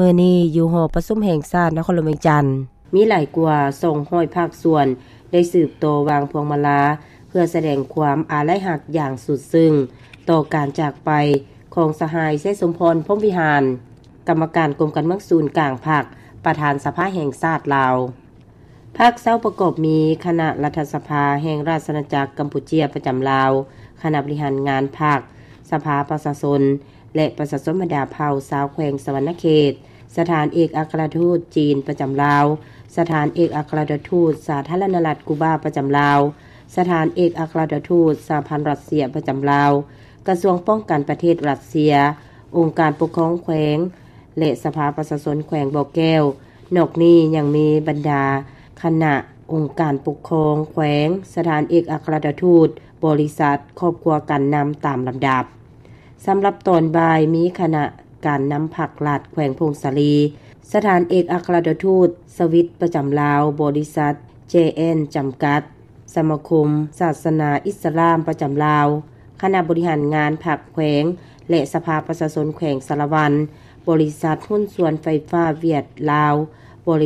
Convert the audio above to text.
ມື້ນີ້ຢູ່ຫໍປະຊຸມແຫ່ງຊາດນະຄອນຫຼວງວຽງຈັນ, ມີຫຼາຍກວ່າສອງຮ້ອຍພາກສ່ວນໄດ້ສືບຕໍ່ວາງພວງມາລາ ເພື່ອສະແດງຄວາມອາໄລຮັກຢ່າງສຸດຊຶ້ງຕໍ່ການຈາກໄປຂອງສະຫາຍ ໄຊສົມພອນ ພົມວິຫານ ກຳມະການກົມການເມືອງສູນກາງພັກ, ປະທານສະພາແຫ່ງຊາດລາວ. ພາກເຊົ້າປະກອບມີຄະນະລັດຖະສະພາແຫ່ງລາຊະອານາຈັກກຳປູເຈຍປະຈຳລາວ, ຄະນະບໍລິຫານງານພັກ, ສະພາປະຊາຊົນ ແລະ ປະຊາຊົນບັນດາເຜົ່າຊາວແຂວງສະຫວັນນະເຂດ, ສະຖານເອກອັກຄະລັດຖະທູດຈີນປະຈຳລາວ, ສະຖານເອກອັກຄະລັດຖະທູດສາທາລະນະລັດກູບາປະຈຳລາວ, ສະຖານເອກອັກຄະລັດຖະທູດສະຫະພັນຣັດເຊຍປະຈຳລາວ, ກະຊວງປ້ອງກັນປະເທດຣັດເຊຍ, ອົງການປົກຄອງແຂວງ ແລະ ສະພາປະຊາຊົນແຂວງບໍ່ແກ້ວ. ນອກນີ້ຍັງມີບັນດາຄະນະອົງການປົກຄອງແຂວງ, ສະຖານເອກອັກຄະລັດຖະທູດ, ບໍລິສັດ, ຄອບຄົວການນຳຕາມລຳດັບ. ສຳລັບຕອນບ່າຍມີຄະນະການນຳພັກລັດແຂວງຜົ້ງສາລີ, ສະຖານເອກອັກຄະລັດຖະທູດສະວິດປະຈຳລາວ, ບໍລິສັດ ເຈ ແອນ ຈຳກັດ, ສະມາຄົມສາສະໜາອິດສະລາມປະຈຳລາວ, ຄະນະບໍລິຫານງານພັກແຂວງ ແລະ ສະພາປະຊາຊົນແຂວງສາລະວັນ, ບໍລິສັດຫຸ້ນສ່ວນໄຟຟ້າຫວຽດລາວ,